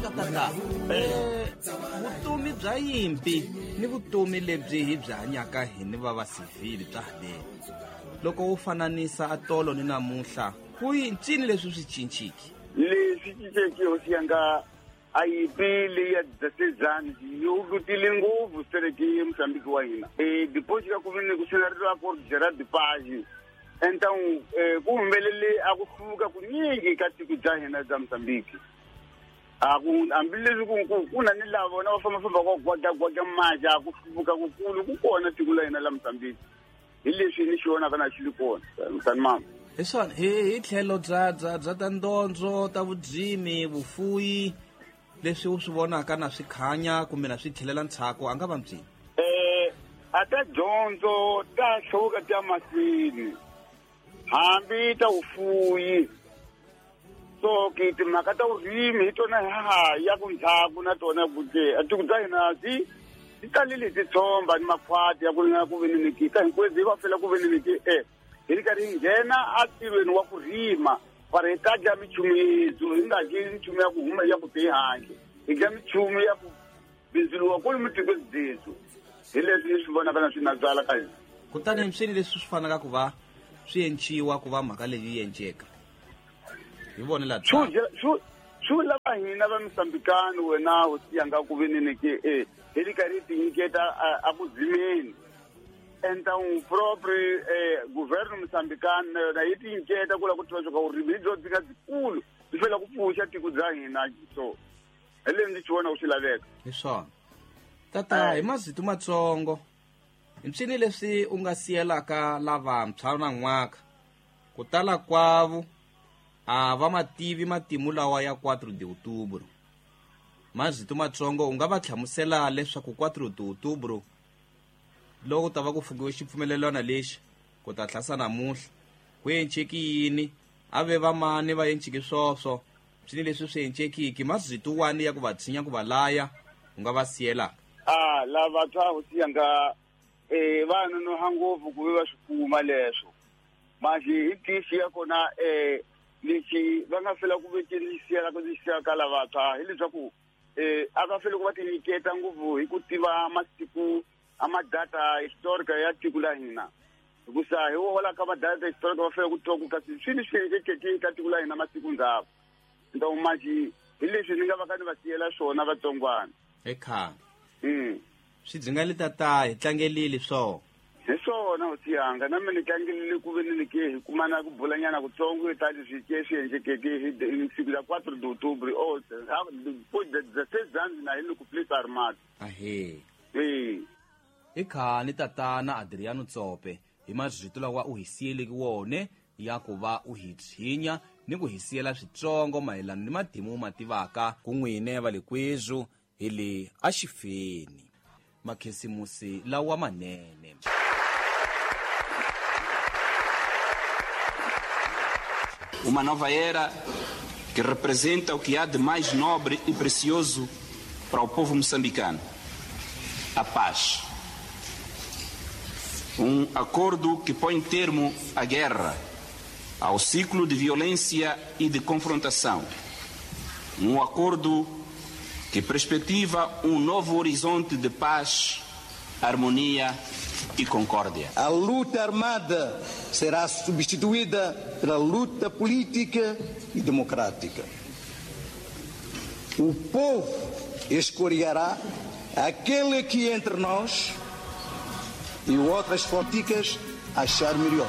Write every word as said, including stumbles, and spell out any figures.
mhaka tata eh vutomi bya yimpi ni vutomi lebyi hi byi hanyaka hi ni va va civil bya haleni loko u fananisa atolo ni namuntlha ku ncini leswi swi cinciki leswi cinceke hosi yanga a yimpi leyi ya dzasezani yi lutile ngopfu sereke Mozambique wa hina e deposit ka ku vini ku sinariro ko Gerard Page então ku humelele a ku hluvuka kunyingi ka tiko bya hina bya Mozambique a ku hambileswi ku ku ku na ni lava vona va fambafamba ku gwagwagwaga maja ku hluvuka kukulu ku kona tiko la hina la Mozambique hi leswi ni xi vonaka na xi li kona msani mama hi swona hi hi tlhelo bya bya bya ta ndondzo ta vudzimi vufuyi leswi u swi vonaka na swi khanya kumbe na swi tlhelela ntshaku a nga va mbyini eh a ta dyondzo ta hluvuka ta mahlweni hambi ta vufuyi so ke timhaka ta vurimi hi tona ha ya ku ndzhaku na tona kute a tiko bya hina byi ti talile titshomba ni makhwati ya ku ringana ku veni ni ka hinkwenu hi va fela ku veni ni ke eh hi ri karhi hi nghena atirhweni wa ku rima para hi ta dya minchumu yethu hi nga dyi minchumu ya ku huma ya ku te handle hi dya minchumu ya ku bindzuriwa kwalomu tikweni byethu hi leswi ni swi vonaka na swi na byala ka hina kutani swini leswi swi fanaka ku va swi enciwa ku va mhaka leyi yi enceka hi vone la swi lava hina va Mozambikani wena hosi yanga ku veni ni ke e hi ri karhi hi tinyiketa a ku dzimeni então proprio eh governo moçambicano na yona yi tinyiketa ku lava ku tiva leswaku vurimi hi byo byi nga byikulu byi fanele ku pfuxa tiko bya hina so hi leswi ndzi xi vona ku swi laveka hi swona tata hi mazito matsongo mpsini leswi u nga siyelaka lavantshwa na n'waka ku tala kwavo a va mativi matimu lawa ya quatro de outubro mazito matsongo u nga va hlamusela leswaku quatro de outubro loko ta va ku fukiwe xipfumelelwana lexi ku ta tlhasa namuntlha ku enceki yini a ve vamani va enciki swoswo swini leswi swi encekiki mazito wani ya ku va tshinya ku va laya u nga va siyelaka a lavatshwa hosi yanga eh va nonoha ngopfu ku ve va swi kuma leswo manje hi tixi ya kona eh lexi va nga fela ku vekeni siyela ku ndzi siya ka lavatshwa hileswaku eh a va fele ku va tinyiketa ngopfu hi ku tiva masiku a madata historica ya tiko la hina hikusa hi wo hola ka madata historica va fele ku twa ku kasi swini swi endlekeke ka tiko la hina masiku ndzhaku então manje hi leswi ni nga va ka ni va siyela swona vatsongwana ekhaya mm swi byi nga le tata hi tlangelile swona hi swona hosi yanga na mina ni tlangelile ku veni ni ke hi kumana ku bulanyana kutsongo hi ta leswi ke swi endlekeke hi siku la quatro de outubro o dezesseis anos na hi le ku place armado ahe e i khani tatana Adriano Tsope hi mazito lawa u hi siyeleke wone ya ku va u hi tshinya ni ku hi siyela switsongo mayelana ni matimu ma tivaka ku n'wine va le kwezu hi le axifeni makhisimusi lawa manene. Uma nova era que representa o que há de mais nobre e precioso para o povo moçambicano: a paz. Um acordo que põe termo à guerra, ao ciclo de violência e de confrontação. Um acordo que perspectiva um novo horizonte de paz, harmonia e concórdia. A luta armada será substituída pela luta política e democrática. O povo escolherá aquele que entre nós e outras políticas achar melhor.